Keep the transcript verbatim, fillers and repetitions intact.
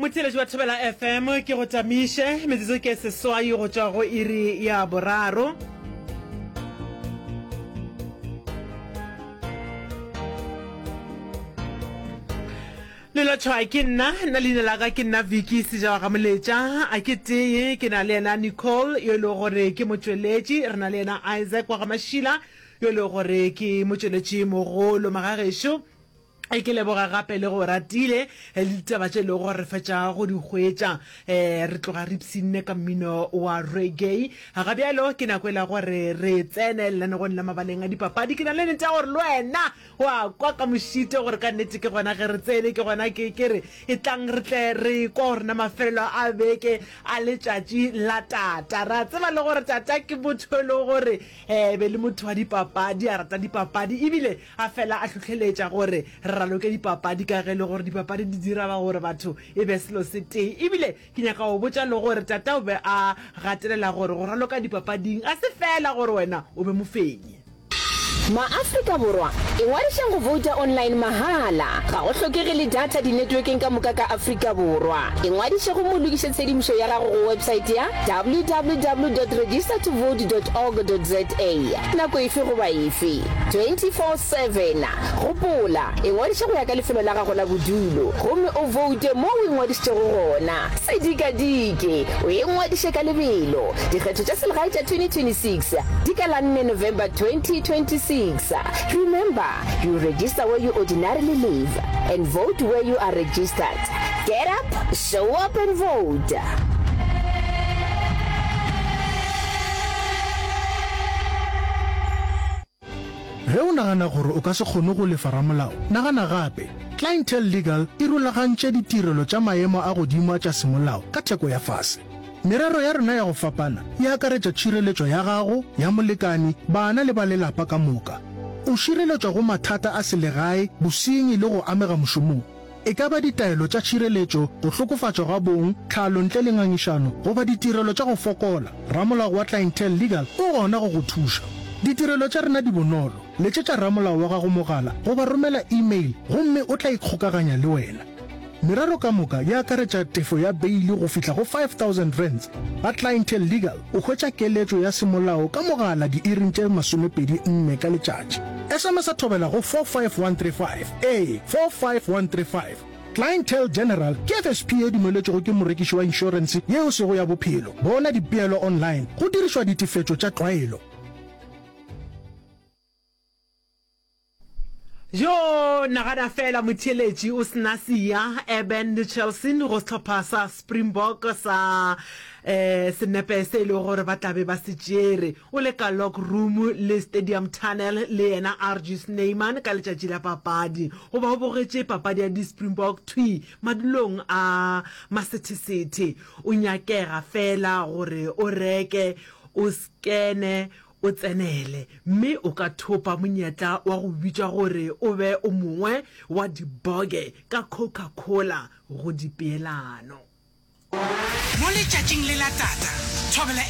Motheeletši wa Thobela F M, ke go tamiše. Metsotso ke seswai go tšwa go iri ya boraro. Lelotšhwa ke nna, nna leina la ka ke nna Vicky Sejawa ga Moletša. A ke tee, ke na le yena Nicole yo e lego gore ke motšweletši, re na le yena Isaac wa ga Mašila yo e lego gore ke motšweletši mogolo magagešo. Ke leboga gape le go ratile le ditaba tše e lego gore re fetša go di hwetša. um re tloga re ipshinne ka mmino wa reggae. Ga bjalo ke nako e la gore re tsene lenanegong la mabaleng a dipapadi. Ke na le nnete ya gore le wena wa kwa ka mošito gore ka nnete ke gona ge re tsene, ke gona ke ke re e tlang re tle re kwa gore na mafelelo a beke a letšatši la tata. Ra tseba le gore tata ke motho e lego gore um be le motho wa dipapadi, a rata dipapadi ebile a fela a hlohleletša gore re raloke dipapadi ka ge e le gore dipapadi di dira ba gore batho e be selo se tee. Ebile ke nyaka go botša le gore tata o be a gatelela gore go raloka dipapading ga se feela gore wena o be mofenyi. Ma-Afrika Borwa, ingwadišeng go vouta online mahala. Ga go hlokege le data dinetwekeng ka moka ka Afrika Borwa. Ingwadiše gomme o lokiše tshedimošo ya gago go websaete ya W W W dot register to vote dot org dot za nako efe goba efe, twenty four seven. Gopola, ingwadiše go ya ka lefelo la gago la bodulo gomme o voute mo o ingwadišitšego gona. Se dikadike, o ingwadiše ka lebelo. Dikgetho tša selegae tša twenty twenty-six di ka la nne November twenty twenty-six. Remember, you register where you ordinarily live and vote where you are registered. Get up, show up and vote. Ge o nagana gore o ka se kgone go lefa ramolao, nagana gape. Clientele Legal e rulagantše ditirelo tša maemo a godimo a tša semolao ka theko ya fase. Merero ya rena ya go fapana e akaretša tšhireletšo ya gago, ya molekani, bana le ba lelapa ka moka. O šireletšwa go mathata a selegae, bosenyi le go amega mošomong. E ka ba ditaelo tša tšhireletšo, go hlokofatšwa ga bong, tlhalo ntle le ngangišano, goba ditirelo tša go fokola, ramolao wa Clientele Legal o gona go go thuša. Ditirelo tša rena di bonolo. Letšetša ramolao wa gago mogala goba romela email gomme o tla ikgokaganya le wena. Merero ka moka e akaretša tefo ya beili go fihla go five thousand rands. Ga Clientele Legal o hwetša keletšo ya semolao ka mogala diiring tše masomepedi nne ka letšatši. S M S a thobela go four five one three five, ee, four five one three five. Clientele General ke F S P ye dumeletšwego ke morekiši wa inšorense ye e sego ya bophelo. Bona dipeelo online go dirišwa ditefetšo tša tlwaelo. Jo, nagana feela motheeletši o se na Siya, Eben le Chelsea go sehlopha sa Springbok sa eh, senepe se e lego gore ba tla be ba se tšere. O le ka lock room le Stadium Tunnel le yena R G Snyman ka letšatši la papadi. Goba o bogetše papadi ya di-Springbok thwi madulong a masethesethe. O nyakega feela gore o reke, o skene, o tsenele, mme o ka thopa monyetla wa go bitšwa gore o be o mongwe wa diboge ka Coca-Cola go dipeelano. Mo letšatšing le la tata, Thobela